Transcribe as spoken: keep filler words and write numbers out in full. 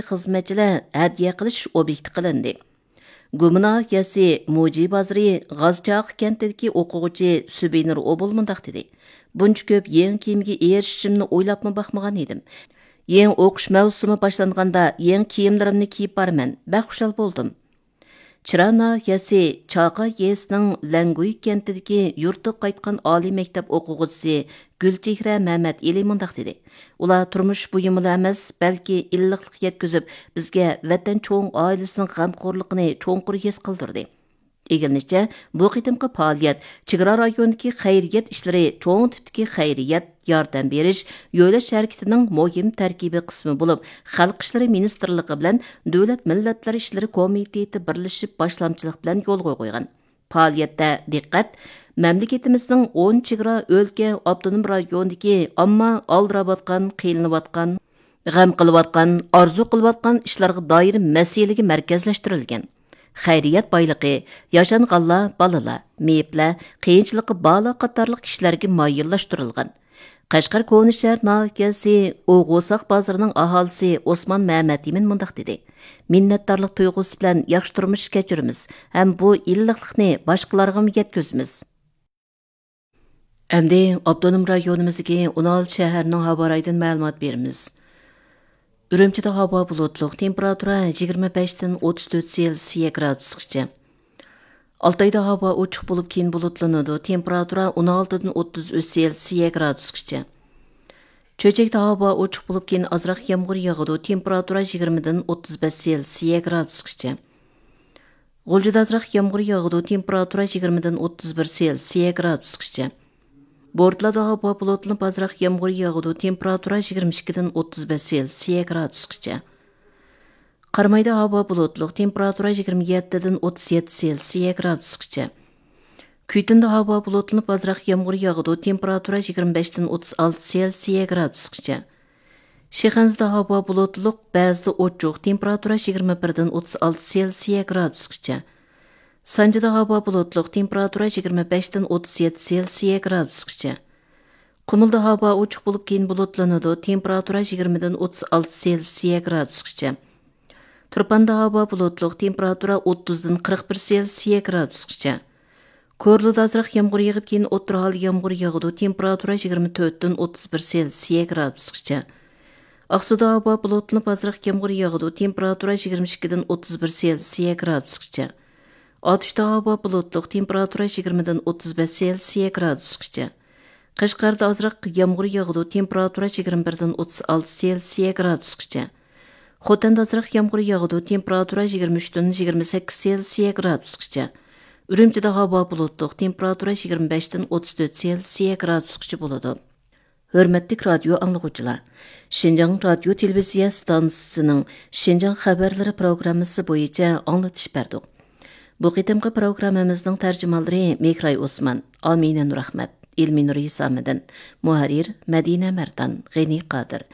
خىزمەتچىلەر ھەدىيە قىلىش ئوبيېكتى قىلىندى. گۇما ناھىيەسى موجى بازىرى غازچاقا كەنتىدىكى ئوقۇغۇچى سۈبىنۇر ئوبۇل مۇنداق دېدى: بۇنچە كۆپ يېڭى كىيىمگە ئېرىشىشىمنى ئويلاپمۇ باقمىغان ئىدىم. يېڭى ئوقۇش مەۋسۇمى باشلانغاندا يېڭى كىيىملىرىمنى كىيىپ بارىمەن، بەك خۇشال بولدۇم. چىرا ناھىيەسى چاقا يېزىسىنىڭ لەڭگۈي كەنتىدىكى يۇرتىغا قايتقان ئالىي مەكتەپ ئوقۇغۇچىسى گۈلچېھرە مەمەتئېلى مۇنداق دېدى: ئۇلار تۇرمۇش بۇيۇمىلا ئەمەس، بەلكى ئىللىقلىق يەتكۈزۈپ، بىزگە ۋەتەن چوڭ ئائىلىسىنىڭ غەمخورلۇقىنى چوڭقۇر ھېس قىلدۇردى. ئىگىلىنىشىچە، بۇ قېتىمقى پائالىيەت چېگرا رايونىدىكى خەيرىيەت ئىشلىرى چوڭ تىپتىكى خەيرىيەت ياردەم بېرىش، يۆلەش ھەرىكىتىنىڭ مۇھىم تەركىبىي قىسمى بولۇپ، خەلق ئىشلىرى مىنىستىرلىقى بىلەن دۆلەت مىللەتلەر ئىشلىرى كومىتېتى بىرلىشىپ باشلامچىلىق بىلەن يولغا قويغان. پائالىيەتتە دىققەت مەملىكىتىمىزنىڭ ئون چېگرا ئۆلكە، ئاپتونوم رايوندىكى ئامما ئالدىراۋاتقان، قىينىلىۋاتقان، غەم قىلىۋاتقان، ئارزۇ قىلىۋاتقان ئىشلارغا دائىر مەسىلىگە مەركەزلەشتۈرۈلگەن. خەيرىيەت بايلىقى ياشانغانلار، بالىلار، مېيىپلەر، قىيىنچىلىقى بارلار قاتارلىق كىشىلەرگە مايىللاشتۇرۇلغان. قەشقەر كونا شەھەر ناھىيەسى ئوغۇساق بازىرىنىڭ ئاھالىسى ئوسمان مەمەتئىمىن مۇنداق دېدى: مىننەتدارلىق تۇيغۇسى بىلەن ياخشى تۇرمۇش كەچۈرىمىز ھەم بۇ ئىللىقلىقنى باشقىلارغىمۇ يەتكۈزىمىز. ئەمدى ئاپتونوم رايونىمىزدىكى ئون ئالتە شەھەرنىڭ ھاۋا رايىدىن مەلۇمات بېرىمىز. ئۈرۈمچىدە ھاۋا بۇلۇتلۇق، تېمپېراتۇرا يىگىرمە بەشتىن ئوتتۇز تۆت سېلسىيە گرادۇسقىچە. ئالتايدا ھاۋا ئوچۇق بولۇپ، كېيىن بۇلۇتلىنىدۇ، تېمپېراتۇرا ئون ئالتىدىن ئوتتۇز ئۈچ سېلسىيە گرادۇسقىچە. چۆچەكتە ھاۋا ئوچۇق بولۇپ، كېيىن ئازراق يامغۇر ياغىدۇ، تېمپېراتۇرا يىگىرمىدىن ئوتتۇز بەش سېلسىيە گرادۇسقىچە. غۇلجىدا ئازراق يامغۇر ياغىدۇ، تېمپېراتۇرا يىگىرمىدىن ئوتتۇز بىر سېلسىيە گرادۇسقىچە. بورتالادا ھاۋا بۇلۇتلىنىپ، ئازراق يامغۇر ياغىدۇ، تېمپېراتۇرا يىگىرمە ئىككىدىن ئوتتۇز بەش سېلسىيە گرادۇسقىچە. قارامايدا ھاۋا بۇلۇتلۇق، تېمپېراتۇرا يىگىرمە يەتتىدىن ئوتتۇز يەتتە سېلسىيە گرادۇسقىچە. كۈيتۇندا ھاۋا بۇلۇتلىنىپ، ئازراق يامغۇر ياغىدۇ، تېمپېراتۇرا يىگىرمە بەشتىن ئوتتۇز ئالتە سېلسىيە گرادۇسقىچە. شىخەنزىدە ھاۋا بۇلۇتلۇق، بەزىدە ئوچۇق، تېمپېراتۇرا يىگىرمە بىردىن ئوتتۇز ئالتە سېلسىيە گرادۇسقىچە. سانجىدا ھاۋا بۇلۇتلۇق، تېمپېراتۇرا يىگىرمە بەشتىن ئوتتۇز يەتتە سېلسىيە گرادۇسقىچە. قۇمۇلدا ھاۋا ئوچۇق بولۇپ، كېيىن بۇلۇتلىنىدۇ، تېمپېراتۇرا يىگىرمىدىن ئوتتۇز ئالتە سېلسىيە گرادۇسقىچە. تۇرپاندا ھاۋا بۇلۇتلۇق، تېمپېراتۇرا ئوتتۇزدىن قىرىق بىر سېلسىيە گرادۇسقىچە. كورلىدا ئازراق يامغۇر يېغىپ، كېيىن ئوتتۇرا ھال يامغۇر يېغىدۇ، تېمپېراتۇرا يىگىرمە تۆتتىن ئوتتۇز بىر سېلسىيە گرادۇسقىچە. ئاقسۇدا ھاۋا بۇلۇتلىنىپ، ئازراق يامغۇر يېغىدۇ، تېمپېراتۇرا يىگىرمە ئىككىدىن ئوتتۇز بىر سېلسىيە گرادۇسقىچە. ئاتۇشتا ھاۋا بۇلۇتلۇق، تېمپېراتۇرا يىگىرمىدىن ئوتتۇز بەش سېلسىيە گرادۇسقىچە. قەشقەردە ئازراق يامغۇر ياغىدۇ، تېمپېراتۇرا يىگىرمە بىردىن ئوتتۇز ئالتە سېلسىيە گرادۇسقىچە. خوتەندە ئازراق يامغۇر ياغىدۇ، تېمپېراتۇرا يىگىرمە ئۈچتىن يىگىرمە سەككىز سېلسىيە گرادۇسقىچە. ئۈرۈمچىدە ھاۋا بۇلۇتلۇق، تېمپېراتۇرا يىگىرمە بەشتىن ئوتتۇز تۆت سېلسىيە گرادۇسقىچە بولىدۇ. ھۆرمەتلىك رادىيو ئاڭلىغۇچىلار، شىنجاڭ رادىيو تېلېۋىزىيە ستانسىسىنىڭ شىنجاڭ خەۋەرلىرى پروگراممىسى بويىچە ئاڭلىتىش بەردۇق. بۇ قېتىمقى پروگراممىمىزنىڭ تەرجىمانلىرى مېھراي ئوسمان، ئامىنە نۇرئەخمەت، ئىلمىنۇر ھېسامىدىن، مۇھەررىر مەدىنە مەردان، غېنى قادىر،